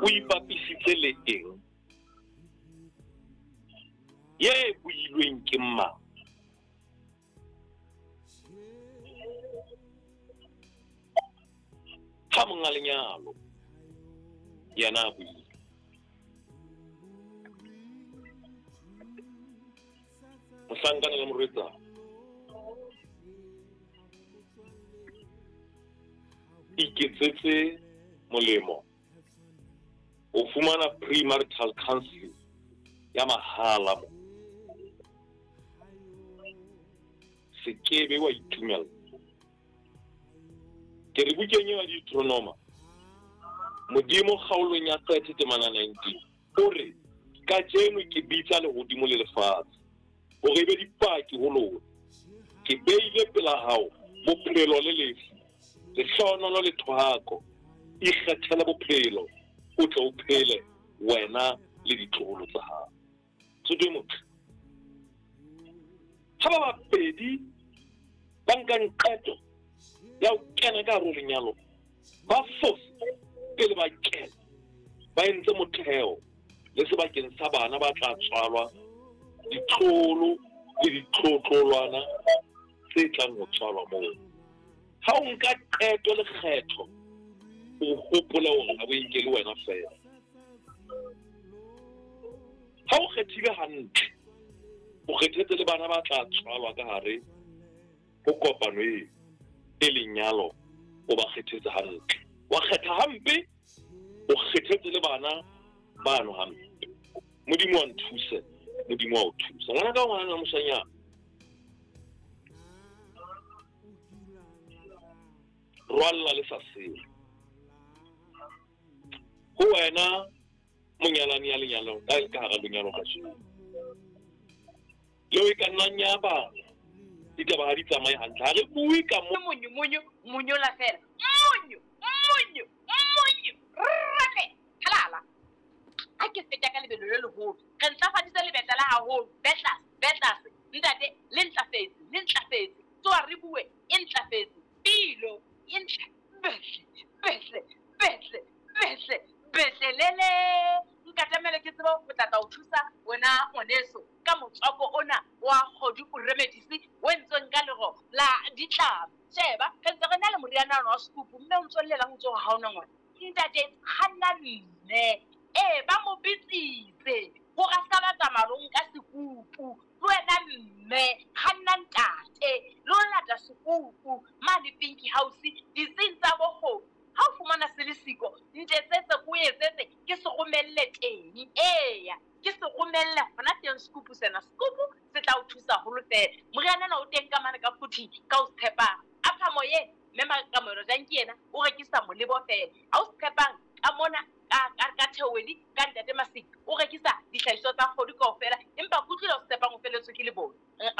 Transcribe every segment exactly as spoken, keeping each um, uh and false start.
O ipapisitse le eng? Ye builweng ke mang? Ha monga lenyalo yena a buile. Mohlankana le morwetsana iketsetse molemo o fumana premarital counseling ya mahala mo. Se kebe wa itumela. Ke re bukeng ya Deuteronoma, Modimo kgaolong ya thirty temana nineteen o re, kajeno ke bitsa lehodimo le lefatshe hore e be dipaki ho lona. Ke beile pela hao bophelo le lefu, lehlohonolo le thohako. Ikgethele bophelo, o tle o phele wena le ditloholo tsa hao. Mosotho e motle, ha ba babedi ba nkang qeto ya ho kena ka hare ho lenyalo, ba fose pele ba kena, ba entse motheo le sebakeng sa bana ba tla tswalwa, ditloholo le ditlotlolwana tse tlang ho tswalwa moo. Ha o nka qeto le kgetho, o hopole hore ha o e nkele wena feela. Ha o kgethile hantle, o kgethetse le bana ba tla tswalwa ka hare ho kopano eo e lenyalo, o ba kgethetse hantle. Wa kgetha hampe, o kgethetse le bana bano hampe. Modimo wa nthuse, Modimo wa o thusa. Ngwana ka ngwana moshanyana, rwalla le sa sele. Ho wena monyalani ya lenyalong, ka ka hara lenyalo kajeno, leo e ka nnang ya ba ditaba ha di tsamaye hantle. Ha re bue ka mo monyo monyo monyola fela, monyo monyo monyo rame halala. Ha ke feta ka lebelo le leholo, re ntlafaditse lebetla la haholo. Betlas betlas ntate, le ntlafetse le ntlafetse, tsoa re bue e ntlafetse, pilo e ntle, behle behle behle behle behle lele. Nkatamele ke tseba ho tla tla o thusa wena ngwaneso ka motswako ona wa kgodu o remedisi o entsweng ka lero la ditlama. Sheba, re ntse re na le moriana ona wa sekupu, mme o ntso llelang o ntso ha ona ngwana. Ntate kganna mme, ee ba mo bitsitse hore a ska ba tsamaya lo nka sekupu. Le wena mme kganna ntate lo lata sekupu mane Pinky House ditsing tsa bokgobu. Ha o fumana se le siko, ntetsetse ko etsetse ke se romelle teng. Eya, ke se romelle hona teng sekupu sena. Sekupu se tla o thusa haholo fela. Moriana ona o teng ka mane ka phuthi ka o tshepang. Apha moyeng mme Makamelo Janki yena o rekisa molebo fela. Ha o tshepang ka mona ka ka ka Theowedi ka ntate Masiki o rekisa dihlahiswa tsa kgodu kaofela, empa kutlwile o tshepang o feletswe ke lebone.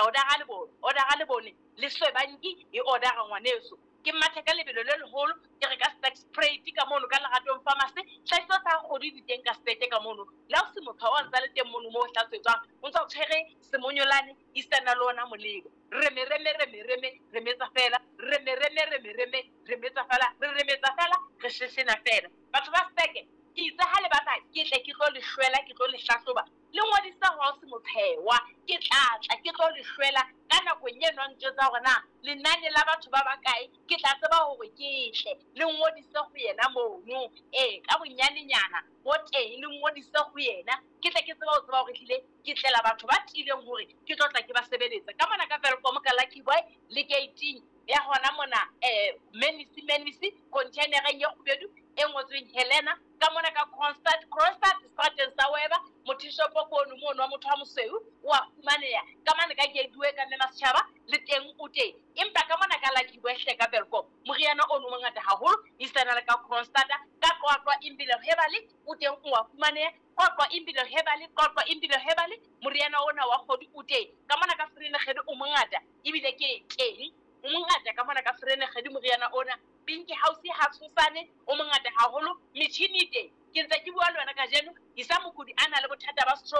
Order-a lebone, order-a lebone le Swebanki e order-a ngwaneso. Ke mathe ka lebelo le leholo, ke re ka Stack Spray ka mono ka Leratong Pharmacy. Hlahiswa tsa kgodu di teng ka Stack ka mono. Le ha o se motho wa ntsa le teng mono mo o hlatswetswang, o ntsa o tshwere semonyolane isana le ona molebo. Reme reme reme reme remetsa fela, reme reme reme reme remetsa fela, re remetsa fela, re sheshena fela. Batho ba Stack, ke itse ha le batla ke tle ke tlo le shwela, ke tlo le hlahloba. Le ngodisa hore o se mothewa, ke tla tla ke tlo le shwela ka nako e eno ntjwetsa hore na lenane la batho ba bakae, ke tla tseba hore ke tle le ngodise ho yena mono. Ee, ka bonyanenyana bo teng le ngodise ho yena, ke tle ke tseba ho tseba hore hlile ke tlela batho ba tiileng hore ke tlo tla ke ba sebeletsa. Ka mona ka Welkom ka Lucky Boy le gate ya hona mona eh Menisi Menisi containereng e kgubedu e ngotsweng Helena. Ka mona ka Constant Constant Stratton sa Weba mothishopo kono mono wa motho wa mosweu o a fumaneha. Ka mane ka Gateway ka Mme Masetjhaba le teng o teng. Empa ka mona ka Lucky Boy hle ka Welkom moriana ono o mongata haholo isana le ka Constant ka Qwaqwa Impilo Herbal o teng o a fumaneha. Qwaqwa Impilo Herbal, Qwaqwa Impilo Herbal moriana ona wa kgodu o teng. Ka mona ka Vereeniging o mongata ebile ke teng o mongata ka mona ka Vereeniging moriana ona. Pinky House ha tshosane o mongata haholo, metjhini e teng. Ke ntse ke bua le wena kajeno, Isa Mokudi a na le bothata ba stroke.